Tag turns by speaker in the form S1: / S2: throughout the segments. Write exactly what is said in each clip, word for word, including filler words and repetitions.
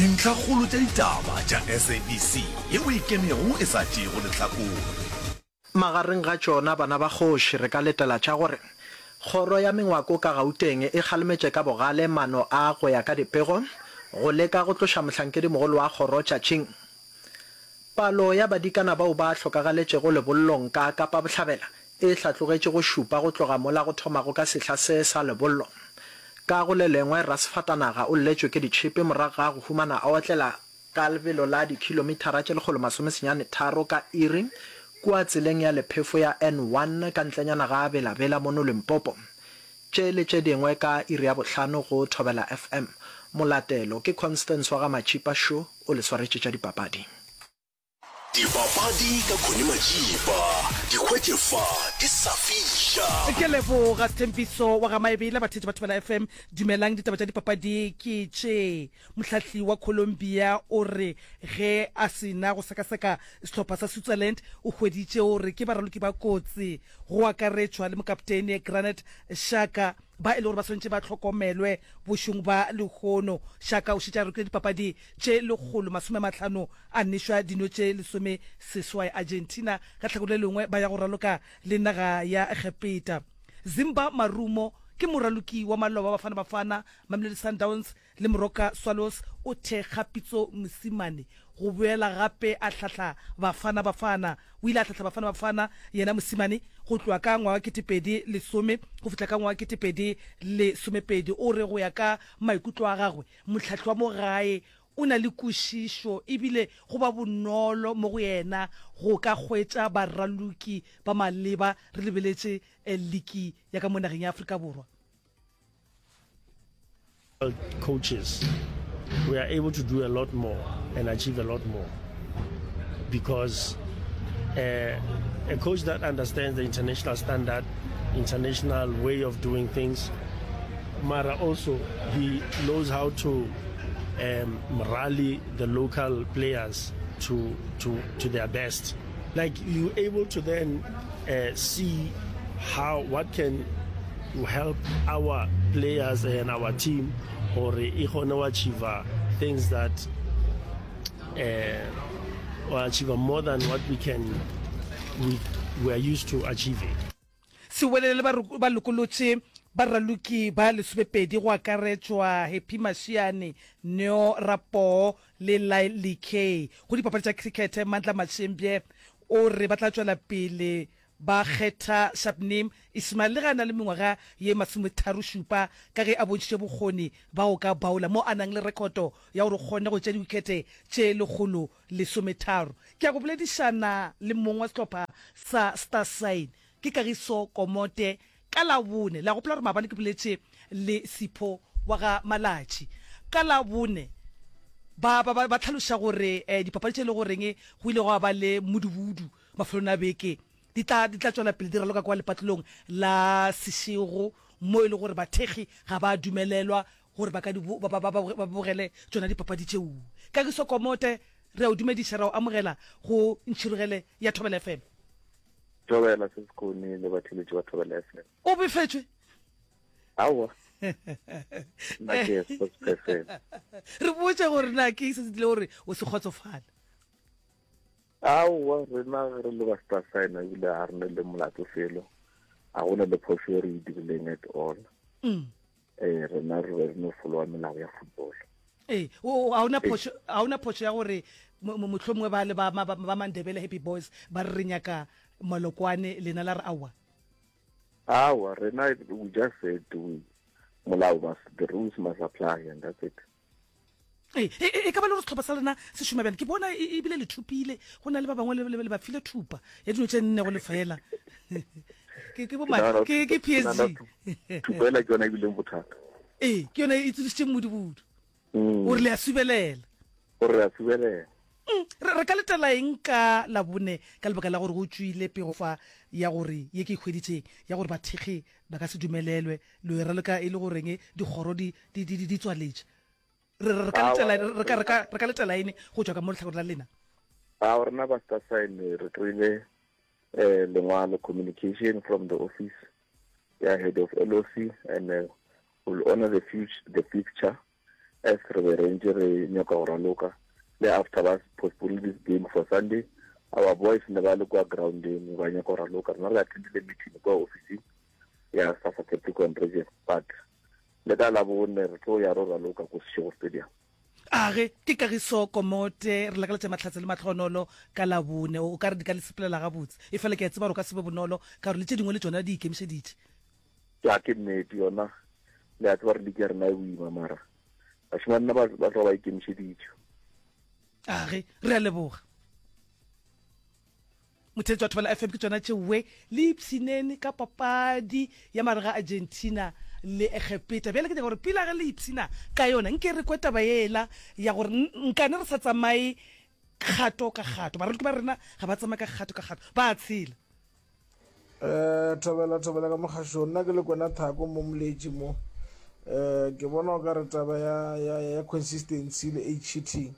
S1: Dintlhakgolo tša ditaba tša S A B C yeo e ikemego e sa tšeego lehlakore.
S2: Magareng ga tšona bana ba kgoši re ka letela tša gore Kgoro ya Mengwako ka Gauteng e kgalemetše ka bogale maano a, go ya ka dipego, go leka go tloša mohlankedimogolo wa kgoro tšatšing. Palo ya badikana bao ba hlokagaletšego lebollong ka Kapa Bohlabela e hlatlogetše go šupa go tloga mola go thomago ka sehla se sa lebollo. Ka go le lengwe, rasefatanaga o lletšwe ke ditšhipi morago ga go humana a otlela ka lebelo la dikhilomithara tše lekgolo masomesenyane tharo ka iri kua tseleng ya lephefo ya N one ka ntlenyana ga Bela-Bela mono Limpopo. Tše le tše dingwe ka iri ya bohlano go Thobela F M. Molatelo ke Constance wa ga Matšipa šo o le swaretše tša dipapadi.
S1: Dipapadi ka Connie Majiba, di hwetše fa di sa fiša.
S3: Ke leboga Sthembiso wa ga Maebela. Batheetši ba Thobela F M, dumelang. Ditaba tša dipapadi ke tše. Mohlahli wa Colombia o re ge a se na go sekaseka sehlopha sa Switzerland, o hweditše gore ke baraloki ba kotsi, go akaretšwa le mokaptene Granit Xhaka, ba e le gore ba swanetše ba hlokomelwe bošong ba lehono. Xhaka o šetše a rokile dipapadi tše lekgolo masome a mahlano, a nešwa dino tše lesome seswai. Argentina ka tlhakore le lengwe ba ya go raloka le naga ya Egepeta. Zimba Marumo ke moraloki wa maloba Bafana Bafana, Mamelodi Sundowns le Moroka Swallows, o thekga Pitso Mosimane go boela gape a hlahla Bafana Bafana. O ile a hlahla Bafana Bafana yena Mosimane go tloga ka ngwaga ketepedi lesome go fihla ka ngwaga ketepedi lesomepedi. O re go ya ka maikutlo a gagwe, mohlahli wa mo gae o na le kwešišo ebile go ba bonolo mo go yena go ka hwetša baraloki ba maleba re lebeletše liki ya ka mo nageng ya Afrika Borwa.
S4: Coaches, we are able to do a lot more and achieve a lot more because uh, a coach that understands the international standard, international way of doing things, mara also he knows how to um, rally the local players to, to, to their best. Like, you're able to then uh, see how what can help our players and our team or e kgone go achieve things that uh, or achieve more than what we can we, we are used to achieving.
S3: Sewelele ba lokolotše baraloki ba lesomepedi, go akaretšwa Happy Mashiane, Neo Rapoo le Lyle Lakay. Go dipapadi tša cricket, Mandla Mashembye o re ba tla tšwela pele ba kgetha Shabnim Ismail le ge a na le mengwaga ye masometharo šupa, ka ge a bontšhitše bokgoni ba go ka baola mo a nang le rekhoto ya gore o kgonne go tšea diwikete tše lekgolo lesometharo. Ke ya go boledišana le mong wa sehlopha sa Star Sign, ke Kagiso Komote, ka Labone. Le a gopola gore maabane ke boletše le Sipho wa ga Malatši. Ka Labone ba ba ba hlaloša gore eh, dipapadi tše e le goreng go ile gwa ba le mmudubudu mafelong a beke di tla di tla tšwela pele di raloka kwa lepatlelong la Seshego, mo e le gore bathekgi ga ba dumelelwa gore ba ka di ba ba ba bogele tšona dipapadi tšeo. Kagiso Komote, re a o dumediša, ra o amogela go Ntšhirogele ya Thobela F M.
S5: Thobela se sekone le batheletši ba Thobela F M.
S3: O befetšwe?
S5: Aowa, nna ke sports person.
S3: Re botse gore na ke se se dile gore o se kgotsofala.
S5: Aowa, rena re le ba Star Sign ebile ga re ne le molato felo, ga gona le phoso e re e dirileng at all.
S3: mm.
S5: Eh, rena re be re no followa melao ya football.
S3: Ee, ga ona phošo, ga ona phošo ya gore mohlomongwe ba le ba ba Mandebele Happy Boys ba re re nyaka Malokwane, lena la re aowa?
S5: Aowa, rena we just said we molao must, the rules must apply and that's it.
S3: Ee, e ka ba le gore sehlopha sa lena se šoma bjang? Ke bona ebile le thupile, go na le ba bangwe le ba file thupa ya dino tše nne go lefela. Ke ke bo ke ke P S G.
S5: Thupa ela ke yona e bileng bothata.
S3: Ee, ke yona e tsošitše mmudubudu. O re le a subelela.
S5: O re a subelela.
S3: Re ka letela eng ka Labone, ka lebaka la gore go tšwile pego fa ya gore ye ke e hweditšeng ya gore bathekgi ba ka se dumelelwe le e raloka e le goreng dikgoro di di di di tswaletše? Re re ka letela re ka re ka re ka letela eng go tšwa ka mo lehlakoreng la lena?
S5: Ao, rena ba Star Sign re kry-ile eh lengwalo, communication from the office ya head of L O C, and uh, will honor the future the fixture. As re be re ntše re nyaka go raloka le after ba postpone this game for Sunday, our boys ne ba le kwa groundeng ba nyaka go raloka. Rena re attendile meeting kwa officing ya SAFA Capricorn Region, but le ka Labone re tlo ya ro raloka ko Seshego Stadium.
S3: Age, ke Kagiso Komote, re lakaletša mahlatse le mahlonolo ka Labone. O ka re di ka le sepelela gabotse. Efela ke a tseba gore o ka se be bonolo ka gore le tše dingwe le tšona di ikemišeditše.
S5: Ya, ke nnete yona. Le a tseba gore league ya rena e boima mara bašemane nna ba ba tloga ba ikemišeditše.
S3: Age, re a leboga. Motheetši wa Thobela F M, ke tšona tšeoe le ipshineng ka papadi ya mare ga Argentina le Egepeta. Bjale ke nyaka gore pila ge le ipshina ka yona, nke re kwe taba yela ya gore nkane re sa tsamaye kgato ka kgato. Baraloki ba rena ga ba tsamaye ka kgato ka kgato, ba a tshela.
S6: Eh, thobela thobela ka mogašong nna ke le kwena thako mo moletši mo eh ke bona o ka re taba ya ya ya consistency le age cheating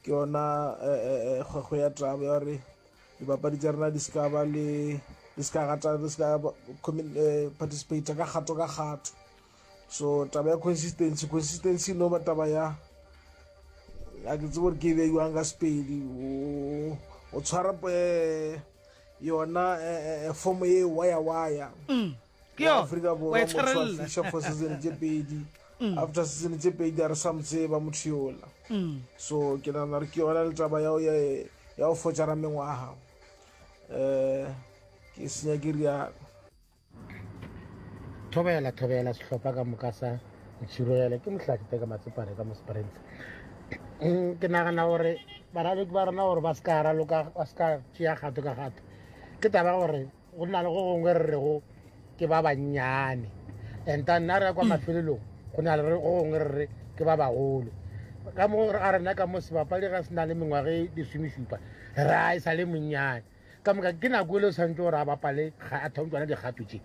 S6: ke yona eh, eh, eh, kgwekgwe ya taba ya gore dipapadi tša rena di se ka ba le di se ka gata di se ka eh, participate ka kgato ka kgato so taba ya consistency consistency no ba taba ya a ke tsebe gore ke e beiwang ka sepedi o tshwara eh, yona eh, form ye waya waya
S3: mm,
S6: Afrika Borwa motho a fiša for season tše pedi mm. after season tše pedi a re sa mo tseba motho yola mm. so ke nagana gore ke yona le taba ya ya go fotšara mengwaga um ke senya ke rialo.
S7: Thobela thobela sehlopha ka moka sa Ntšhirogele ke Mohlahli Teka Matsepane ka mo Springs. Mm, ke nagana gore baraloki ba rena gore ba se ka raloka ba se ka tšea kgato ka kgato ke taba gore go na le go gongwe re rego ke ba bannyane and then nna re ya kwa mm. mafelelong go na le go gongwe re re ke ba bagolo ka mo a rena ka mo sebapadi ga se na le mengwaga e lesomešupa re a e sa le monnyane ka moka ke nako e le o tshwanetse gore a bapale a thome tsona dikgato tše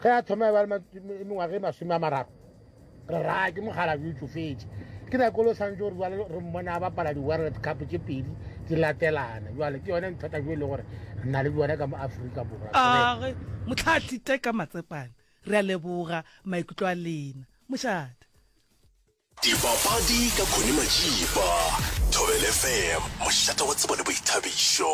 S7: ge a thoma e ba le mengwaga e masome a mararo re raya ke mogala jo tsofetse ke nako e le o tshwanetse gore jale re mmone a bapala di-world cup tše pedi di latelana jale ke yone nthata jo e le gore re na le bjone ka mo Aforika Borwa.
S3: Age motlhatli Teka Matsepane, re a leboga maikutlo a lena. Mošate.
S1: Dipapadi ka Connie Majiba, Thobela F M, mošate wa tsebo le boithabišo.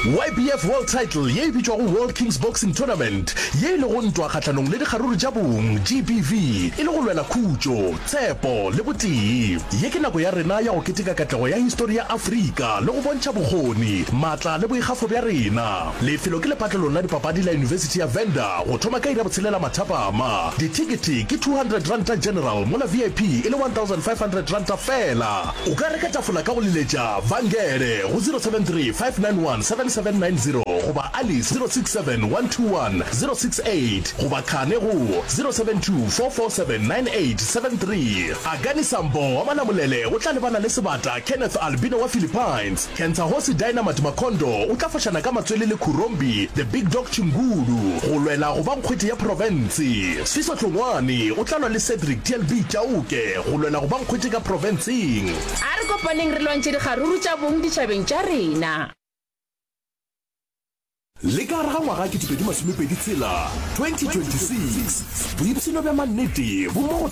S1: Y B F World Title ye e bitšwago World Kings Boxing Tournament, ye e lego ntwa kgahlanong le dikgaruru tša bong, G B V, e le go lwela khutšo, tshepo le botee. Ye ke nako ya rena ya go keteka katlego ya histori ya Afrika le go bontšha bokgoni, maatla le boikgafo bja rena. Lefelo ke lepatlelong la dipapadi la Yunibesithi ya Venda go thoma ka iri ya botshelela mathapama. Dithekete ke two hundred ranta general mola V I P e le one thousand five hundred ranta feela. O ka reka tafola ka go leletša Vangele go zero seven three five nine one seven seven nine zero goba Alice zero six seven one two one zero six eight goba Khane go zero seven two four four seven nine eight seven three. Akani Sambo wa Malamulele o tla lebana le sebata Kenneth Albino wa Philippines. Kentsahosi Dynamite Makondo o tla fošana ka matswele le Khurombi The Big Dog Chingulu go lwela go ba nkgwete ya profense. Sfiso Hlongwane o tla lwa le Cedric T L B Chauke go lwela go ba nkgwete ka profenseng.
S8: A re kopaneng re lwantšhe dikgaruru tša bong ditšhabeng tša rena.
S1: Le ka gare ga ngwaga ketepedi masomepedi tshela, twenty twenty six, boipshino bja mannete bo mo go